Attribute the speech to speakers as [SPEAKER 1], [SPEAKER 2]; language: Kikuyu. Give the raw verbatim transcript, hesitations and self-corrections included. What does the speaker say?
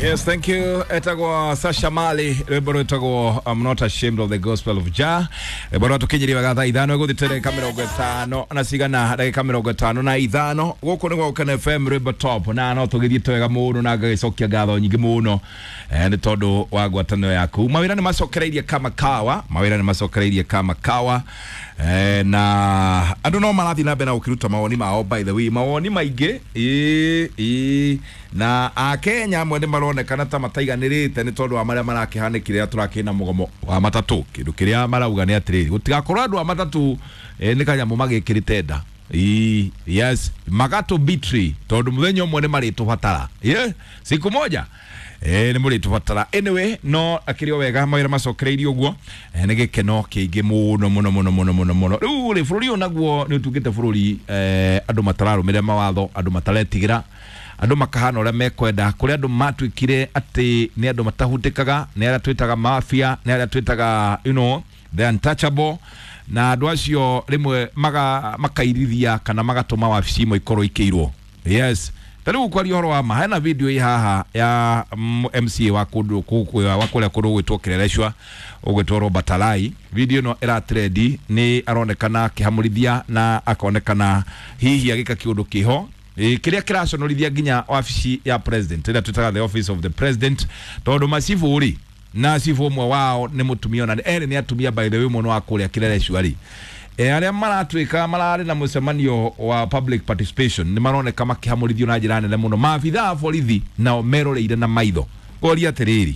[SPEAKER 1] Yes, thank you. Etagwo Sasha Mali, rwimbo rwitagwo I'm not ashamed of the gospel of Jah. Rwimbo rwatukinyirie wega thaa ithano iguthite ndagika mirongo ĩtano na cigana ndagika mirongo ĩtano na ithano. Gũkũ nĩ gwa Gũkena F M rwimbo top, na no tũgĩthiĩte wega mũno na ngagĩcokia ngatho nyingĩ mũno eh, nĩ tondũ wa ngwatanĩro yaku. Mawĩra nĩ macokereirie kama kawa, mawĩra nĩ macokereirie kama kawa. Eh, na andũ no marathiĩ na mbere na gũkĩruta mawoni mao, by the way mawoni maingĩ ĩ ĩ na akenya amwe nĩ maronekana ta mataiganĩrĩte nĩ tondũ wa marĩa marakĩhanĩkire rĩrĩa tũrakĩrĩ na mũgomo wa matatũ. Kĩndũ kĩrĩa marauga nĩ atĩrĩrĩ, gũtigakorwo andũ a matatũ eh, nĩ kanyamũ magĩkĩrĩte nda. Ĩ, yes, magatũ betray tondũ mũthenya ũmwe nĩ marĩtũbatara. Yeah, siku moja eh nĩ mũrĩtũbatara. Anyway, no akĩrĩ o wega mawĩra macokereirie ũguo, eh, nĩ gĩkeno kĩingĩ mũno mũno mũno mũno mũno mũno. Rĩu rĩ, bũrũri ũyũ naguo nĩ ũtuĩkĩte bũrũri eh, andũ matararũmĩrĩra mawatho, andũ mataretigĩra, andũ makahana ũrĩa mekwenda, kũrĩa andũ matuĩkire atĩ nĩ andũ matahutĩkaga, nĩ arĩa twĩtaga mafia, nĩ arĩa twĩtaga you know the untouchable, na andũ acio rĩmwe maga, makairithia kana magatũma wabici imwe ikorwo ikĩirwo. Yes, ta rĩu kwaria ũhoro wa ma, hena video ĩ haha ya M C A wa kũndũ kũu wa kũrĩa kũndũ gwĩtwo Kileleshwa, ũgwĩtwo Robert Alai. Video ĩno ĩratrendi, nĩ aronekana akĩhamũrithia na akonekana hihi agĩka kĩũndũ kĩho ĩ, kĩrĩa kĩraconorithia nginya wabici ya president ĩrĩa twĩtaga the office of the president, tondũ macibũ rĩ, na cibũ ũmwe wao nĩ mũtumia, ona erĩ nĩ atumia by the way, mũno wa kũrĩa Kileleshwa rĩ. E, arĩa maratuĩka mararĩ na mũcemanio wa public participation nĩ maroneka makĩhamũrithio na njĩra nene mũno. Maabitha a borithi nao meroreire na maitho. Ngoria atĩrĩrĩ,